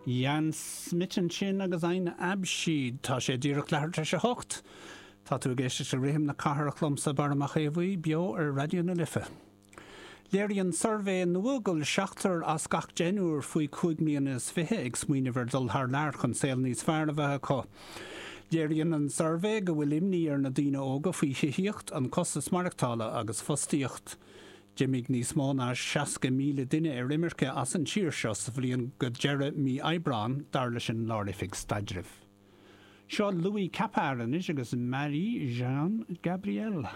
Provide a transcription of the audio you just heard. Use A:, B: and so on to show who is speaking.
A: Jan Smit ansin agus Ein Abschied. Tá sé díreach leathuair tar éis a hocht. Tá tú ag éisteacht le Rithim na Cathrach liomsa, Barra Mac Aodha Bhuí, beo ar Raidió na Life. Léiríonn suirbhé nua go bhfuil seachtar as gach deichniúr faoi chúig mbliana is fiche ag smaoineamh ar dhul thar lear chun saol níos fearr a bheith acu. Léiríonn an suirbhé go bhfuil imní ar na daoine óga faoi thithíocht, an costas maireachtála agus fostaíocht. D'imigh níos mó ná 60,000 duine ar imirce as an tír seo sa bhliain go deireadh mí Aibreáin, dar leis an Lár-Oifig Staidrimh. Seo Louis Capart anois agus Marie Jeanne Gabrielle.